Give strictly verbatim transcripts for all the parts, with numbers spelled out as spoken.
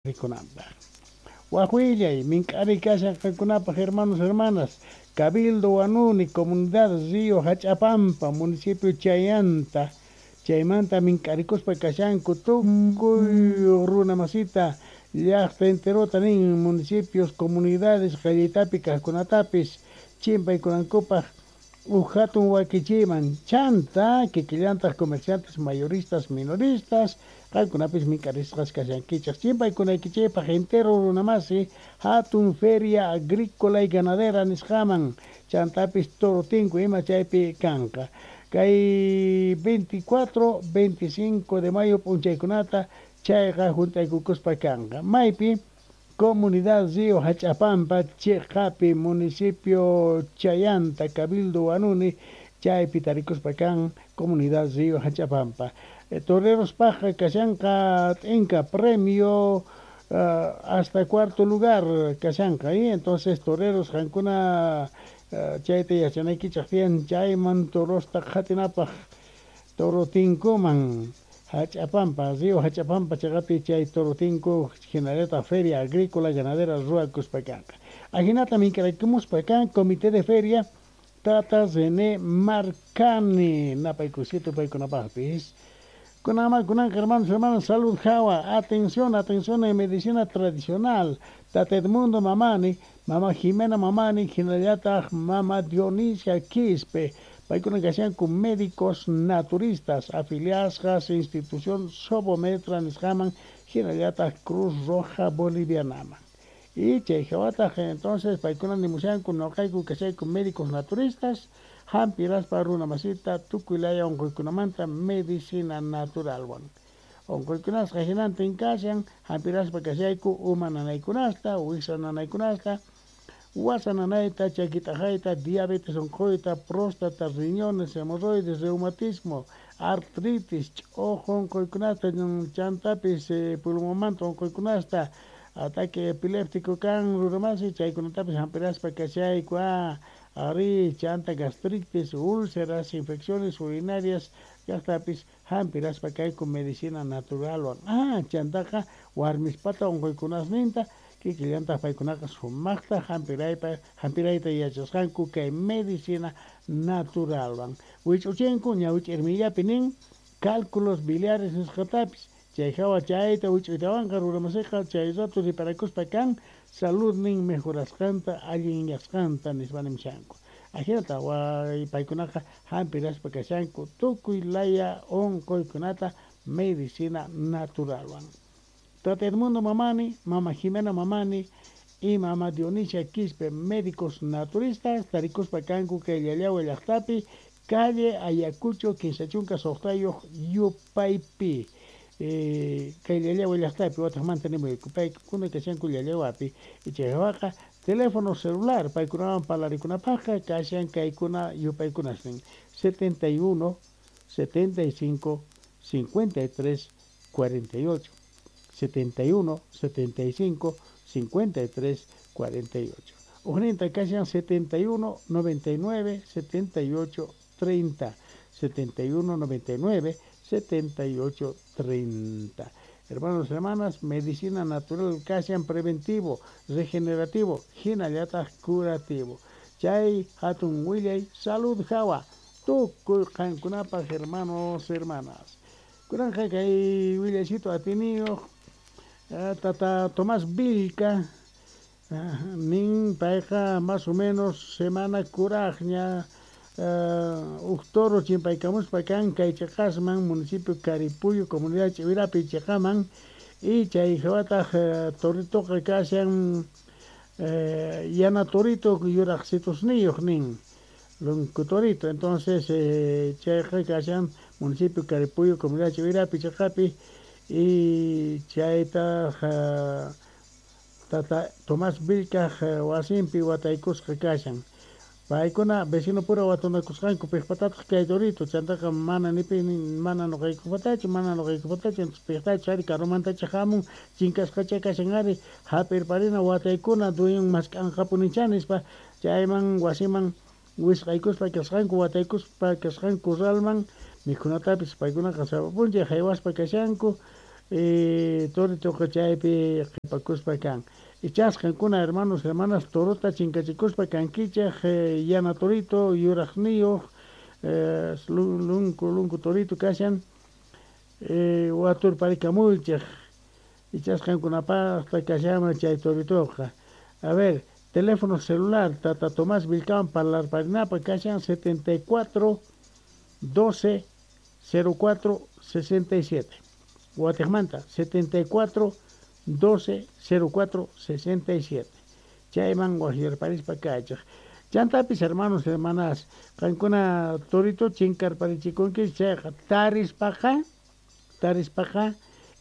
Rikunanpaq. Waj willay, mink'ari kashan qankunapaq, hermanos, hermanas, Cabildo Huanuni, comunidad Río Hach'apampa, municipio Chayanta, chaymanta mink'arikuspa kashanku tukuy runa masita, llaqta enterota nin, municipios, comunidades qallitapi kaqkunatapis chimpaykunankupaq uj hatun wakichiyman. Chanta kikillantaq comerciantes mayoristas, minoristas, qankunapis mink'arisqas kashankichaq chimpaykunaykichikpaq entero runamasi hatun feria agrícola y ganadera nisqaman, chantapis toro tinku ima chaypi kanqa kay veinticuatro, veinticinco de mayo p'unchaykunata. Chayqa hunt'aykukuspa kanqa maypi? Comunidad Río Hach'apampa chiqapi, municipio Chayanta, Cabildo Huanuni, chaypi tarikuspa kan comunidad Río Hach'apampa. eh, torerospaqqa kashanqa t'inka premio, uh, hasta cuarto lugar kashanqa. Y entonces, toreros, qankuna uh, chayta yachanaykichaq tiyan, chayman torosta qhatinapaq toro tinkuman, Hach'apampa, Río Hach'apampa chiqapi chay toro tinku hinallataq feria agrícola ganadera ruwakuspa kanqa. Ahinata mink'araykumuspa kan comité de feria, tata René Marcani, napaykusito paykunapaqpis. Kunanman kunanqa, hermanos, hermanas, salud hawa. Atención, atención en medicina tradicional. Tata Edmundo Mamani, mama Jimena Mamani, hinallataq mama Dionisia Quispe, paykuna kashanku médicos naturistas afiliadas institución Sobometra nisqaman hinallataq Cruz Roja Bolivianaman. Y chay hawataq entonces paykuna nimushanku: "Nuqayku kashayku médicos naturistas, hampiraspa runa masita tukuy laya unquykunamanta medicina naturalwan. Unquykunasqa hinantin kashan, hampiraspa kashayku uma nanaykunasta, wiksa nanaykunasta, wasa nanayta, chaki t'aqayta, diabetes unquyta, próstata, riñones, hemorroides, reumatismo, artritis, ch'uqu unquykunata, chantapis pulmonmanta unquykunasta, ataque epiléptico kan runamasi, chaykunatapis hampiraspa kashayku. A ari, chanta gastritis, úlceras, infecciones urinarias kaqtapis hampiraspa kayku medicina naturalwan. Ah, chantaqa warmispata unquykunasninta kikillantaq paykunaqa sumaqta hampiraypa hampirayta yachasqanku kay medicina naturalwan. Wich'uchinku ñawi ch'irmillapi nin cálculos biliares nisqatapis. Chay hawa chayta wich'uytawanqa runamasiqa chay rato riparakuspa kan saludnin mejorasqanta, allinyasqanta nispa nimushanku. Ahinata paykunaqa hampiraspa kashanku tukuy laya unquykunata medicina naturalwan. Tata Edmundo Mamani, mama Jimena Mamani y mama Dionisia Quispe, médicos naturistas, tarikuspa kanku kay Llallagua llaqtapi, calle Ayacucho kinsa chunka suqtayuq yupaypi, eh, kay Llallagua llaqtapi. Wataqmanta nimuyku, paykuna kashanku Llallaguapi. Chay hawaqa teléfono celular paykunawan parlarikunapaqqa kashan kaykuna yupaykunasnin: setenta y uno setenta y cinco cincuenta y tres cuarenta y ocho, setenta y uno setenta y cinco cincuenta y tres cuarenta y ocho. Ujninta kashan setenta y uno noventa y nueve setenta y ocho treinta, setenta y uno noventa y nueve setenta y ocho treinta. Hermanos, hermanas, medicina natural kashan preventivo, regenerativo, hinallataq curativo. Chay hatun willay salud hawa tukuy qankunapaq, hermanos, hermanas. Kunanqa kay willaycito atiniyuq tata Tomás Vilca nin, payqa más o menos semana kuraqña uj toro chimpaykamuspa kan kay chiqasman, municipio Caripuyo, comunidad Ch'iwirapi chiqaman. Y chay hawataq toritoqa kashan yana torito, yuraqsitusniyuq nin, lonco torito. Entonces chayqa kashan municipio Caripuyo, comunidad Ch'iwirapi chiqapi. Y chaytaq tata Tomás Vilcaj wasinpi wataykusqa kashan. Paykuna vecino pura watunakusqanku piqpatataq kay torito. Chantaqa mana nipi mana nuqaykupatachu, mana nuqaykupatachu. Piqtachus ari karumantacha hamun, chinkasqacha kashan ari, hap'irparina, wataykuna, dueñon mask'anqapunichá nispa chayman wasiman wisq'aykuspa kasqanku, wataykuspa kasqanku corralman. Mikhunatapis paykunaqa sapa p'unchay haywaspa kashanku. eh, toritoqa chaypi qhipakuspa kan. Ichas qankuna hermanos, hermanas, torota chinkachikuspa kankichej, eh, yana torito, yuraqniyuq, eh, lunku lunku torito kashan, eh, waturparikamuychej, ichas qankunapaqta kashanman chay toritoqa. A ver, teléfono celular, Tata Tomás Vilcán parlarparinapa kashan setenta y cuatro doce cero cuatro sesenta y siete. Guatemala, setenta y cuatro doce cero cuatro sesenta y siete. Chayman wajyarparispa kachaj. Chantapis, hermanos, hermanas, qankuna torito chinkarparichikunki chayqa tarispaqa, tarispaqa,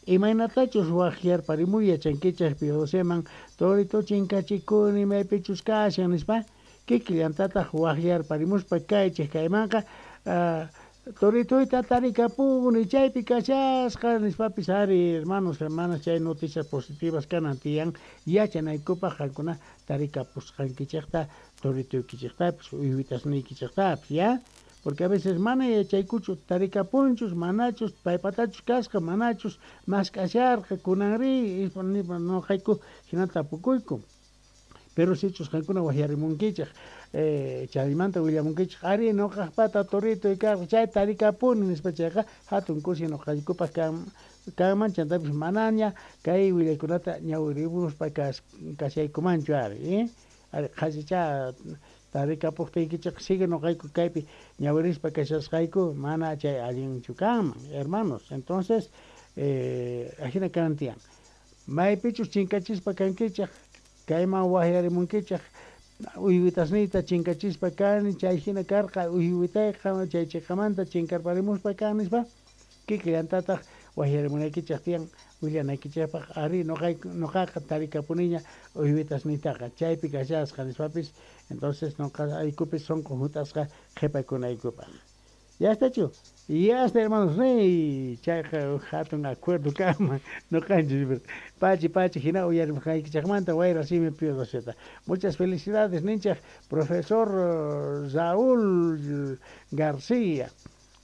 imaynatachus wajyarparimuy yachankichaj Pio Doceman, torito chinkachikuni maypichus kashan nispa, kikillantataq wajyarparimuspa kaychej kaymanqa, uh, toritoyta tarikapuni chaypi kashasqa nispapis ari, hermanos, hermanas, chay noticias positivas kanan tiyan yachanaykupaq qankuna tarikapusqankichejta toritoykichejtapis uywitasniykichejtapis, ya? Porque a veces mana yachaykuchu tarikapunchus manachus paypatachus kasqa manachus mask'asharqa kunanri noqayku hina tapukuyku. Pero sichus qankuna wajyarimunkichej, eh, chaymanta willamunkichej, ari noqaqpata toritoy karqa chay tarikapuni nispa chayqa hatun kusi noqaykupaq kan kanman chantapis manaña kay willaykunata ñawirimuspa kas kashaykumanchu ari, eh? Ari qhasicha tarikapuqtiykichej sigue noqayku kaypi ñawirispa kashasqayku mana chay allinchu kanman, hermanos. Entonces, eh, ajina kanan tiyan. Maypichus chinkachispa kankichej, kayman wajyarimunkichej, uywitasniyta chinkachispa kani, chay hina karqa uywitayqa chay chiqamanta chinkarparimuspa kan nispa, kikillantataq wajyarimunaykichej tiyan willanaykichejpaq ari noqayku noqaqa tarikapuniña uywitasniytaqa chaypi kashasqa nispapis, entonces noqaykupis sunqu hunt'asqa qhipakunaykupaq. Ya está chu. Ya está, hermanos. Rey, chayqa hatun acuerdo kanman noqanchis. Pachi, pachi, hina uyarimusqaykichejmanta wayra simi Pío Doceta. Muchas felicidades, ninchaj, profesor Raúl García.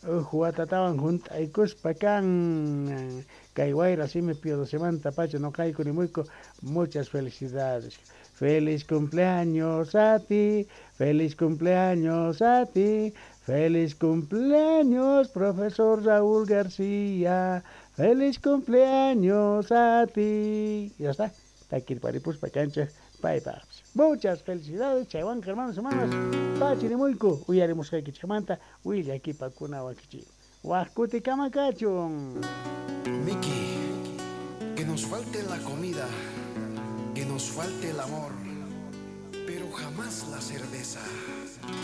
Uj watatawan junt'aykuspa kan kay wayra simi Pío Docemanta pacha noqayku nimuyku. Muchas felicidades. Feliz cumpleaños a ti, feliz cumpleaños a ti, feliz cumpleaños, profesor Raúl García, feliz cumpleaños a ti. Ya está, takirparipuspa kanchaj, paypaps. Muchas felicidades, chaywan hermanos, hermanas, pachirimuiku, uyarimusqaykichejmanta, willakipakuna wakichi. Wajkuti kamakachun. Miki, que nos falte la comida, que nos falte el amor, pero jamás la cerveza.